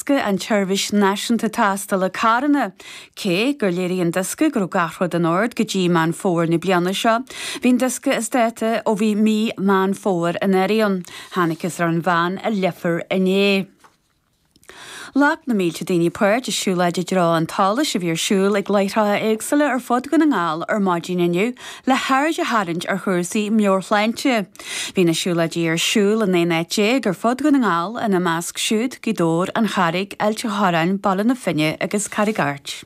diosca an tSeirbhís Náisiúnta Tástála Carranna. Cé gur léirigh an diosca go raibh gach rud in ord go dtí Meán Fómhair na bliana seo, bhí an diosca as dáta ó bhí mí Meán Fómhair anuraidh ann. Thángthas ar an bhean i Leifear inné. Ghlac na mílte daoine páirt i siúlóid i dtreo an tsolais a bhí ar siúl ag láithreacha éagsúla ar fud Dhún na nGall ar maidin inniu le haird a tharraingt ar chúrsaí meabhairshláinte. Bhí na siúlóidí ar siúl i 19 áit ar fud Dhún na nGall, ina measc siúd Gaoth Dobhair, An Charraig, Ailt an Chorráin, Baile na Finne agus Carraig Airt.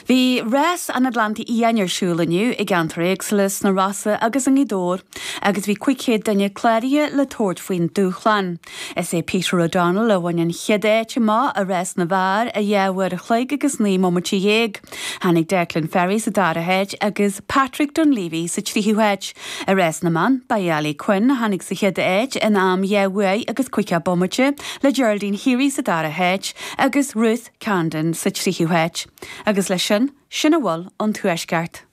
Bhí Rás an Atlantaigh Fhiáin ar siúl inniu i gceantair éagsúla sna Rosa agus i nGaoth Dobhair agus bhí 500 duine cláraithe le tabhairt faoin dúshlán. Is é Peter O'Donnell a bhain an chéad áit amach i rás na bhfear i 2 uair a chloig agus 19 mbomaite. Tháinig Declan Ferry sa dara háit agus Patrick Dunleavy sa tríú háit. I rás na mban, ba í Ali Quinn a tháinig sa chéad áit in am 2 uair agus 50 bomaite, le Geraldine Heery sa dara háit agus Ruth Condon sa tríú háit. Agus leis sin, sin a bhfuil ón Tuaisceart.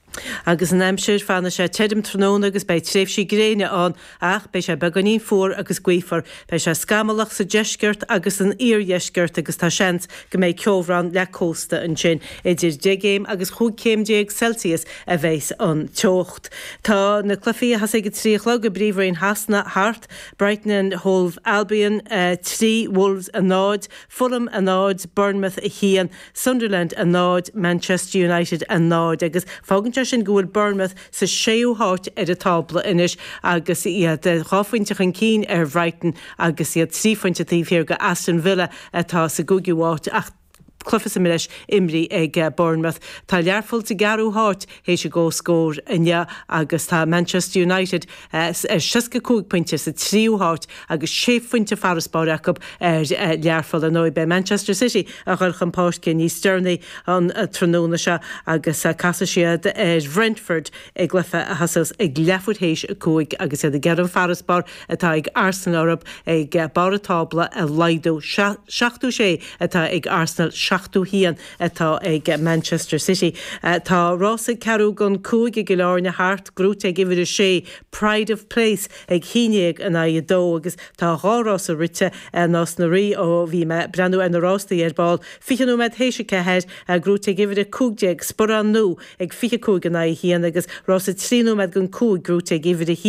Agus an aimsir, fanfaidh sé tirim tráthnóna agus beidh tréimhsí gréine ann ach beidh sé beagáinín fuar agus gaofar. Beidh sé scamallach sa deisceart agus san iardheisceart agus tá seans go mbeidh ceobhrán le cósta ansin. Idir 10 gcéim agus 15 céim Celsius a bheas an teocht. Tá na cluichí a thosaigh ag a 3 a chlog i bPríomhroinn Shasana thart, Brighton and Hove Albion 3, Wolves 0, Fulham 0, Bournemouth 1, Sunderland 0, Manchester United 0 agus fágann sé sin go bhfuil Bournemouth sa séú háit ar an tábla anois agus iad dhá phointe chun cinn ar Bhrighton agus iad trí phointe taobh thiar de Aston Villa atá sa gcúigiú háit ach cluiche sa mbreis imrithe ag Bournemouth. Tá Learpholl sa gceathrú háit théis a gcomhscór inniu agus tá Manchester United ar 65 pointe sa tríú háit agus sé phointe farasbairr acu ar Learpholl. Ar ndóigh, beidh Manchester City a dhul chun páirce níos deireanaí an tráthnóna seo agus casfaidh siad ar Bhrentford i gcluiche a thosós ag leathuair théis 5 agus iad ag iarraidh an farasbarr atá ag Arsenal orthu ag barr an tábla a laghdú. 76 atá ag Arsenal, 71 atá ag Manchester City. Tá rása ceathrú don 5 i gCill Airne thart, gnóite ag uimhir 6, Pride of Place ag 11 in aghaidh 2 agus tá dhá rása rite i Nás na Rí ó bhí mé ag breathnú ar na rástaí ar ball. 20 nóiméad théis 4, gnóite ag uimhir 15, Sporán Nua ag 25 in aghaidh 1 agus rása 3 nóiméad don 5 gnóite ag uimhir 1.